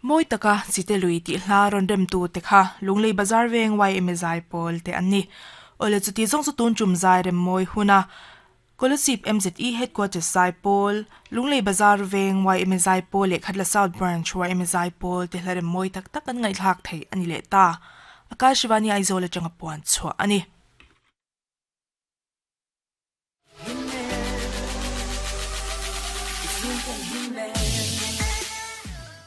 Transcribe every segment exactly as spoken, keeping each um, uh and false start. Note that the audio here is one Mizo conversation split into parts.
Moi taka chite lui ti hla ron rem tu te kha Lunglei Bazar veng Y M A zai pawl te an ni. Ole chuti zong chu tun chum zai rem moi huna Kolasib M Z E headquarters zai pawl Lunglei Bazar veng Y M A zai pawl le Khatla South Branch Y M A zai pawl te hla rem moi tak tak an ngai thlak thei ani le ta. Akashvani Aizawl atanga puan chhuah ani.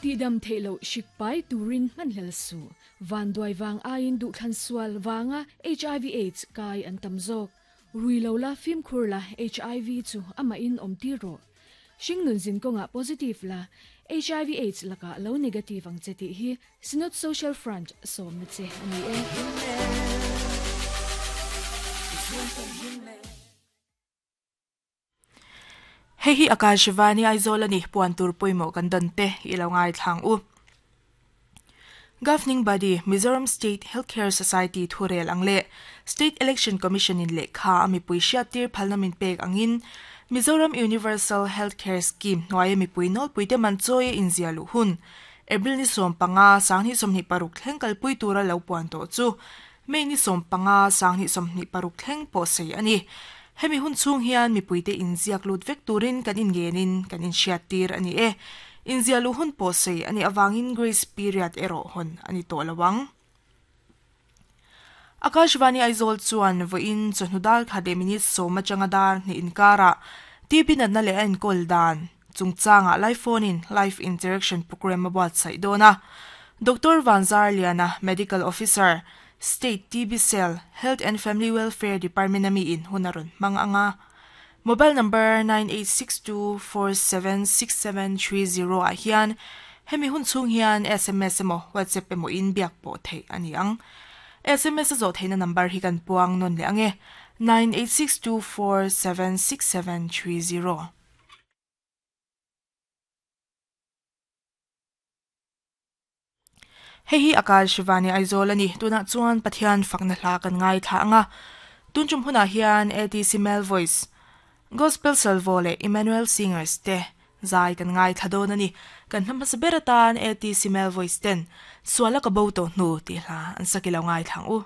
Ti dam theilo shikpai turin manhlel su van duai wang ain du thlan sual wanga H I V AIDS kai an tamzok ruilo la fim khur la H I V chu ama in om ti ro shingnun zin konga positive la H I V AIDS laka lo negative ang cheti hi Synod Social Front som na che ani e. Hei hi Akashvani Aizawl ani puan tur poimo kan dante ilo ngai thlang u. Governing body Mizoram State Healthcare Society thurel angle State Election Commission in lekha ami puisia tir phalnamin pek angin Mizoram Universal Healthcare Scheme noai mi puinol puite manchoi inzia lu hun April ni som panga sangni somni paruk thleng pui tura lo puan to chu May ni som panga sangni somni paruk thleng po sei ani. Hemi hun chung hian mi puite inziak lut vek turin kan in genin kan in hriat tir ani e. Inzia lu hun po sei ani awangin grace period ero hon ani to lawang. Akashvani Aizawl chuan voin chawhnudal khade minute sawma changa dar ni inkara T B natna le an kol dan chungchanga live phone in live interaction program a buatsaih dawna. Doctor Vanzar Liana Medical Officer State T B Cell Health and Family Welfare Department ami in hunaron manganga. Mobile number nine eight six two four seven six seven three zero a hian hemi hun chung hian S M S emaw WhatsApp emaw in biak pawh thei ani ang. S M S a zawh theihna number hi kan puang nawn leh ange nine eight six two four seven six seven three zero. Hei hi Akashvani Aizawl ani tuna chuan Pathian fakna hla kan ngai thla anga tun chum huna hian A T C Male Voice Gospel Salvo le Emmanuel Singers te zai kan ngai thla dawn ani kan hnam hmasa ber atan A T C Male Voice ten suala ka bo to hnu ti hla an sakilo ngai thlang u.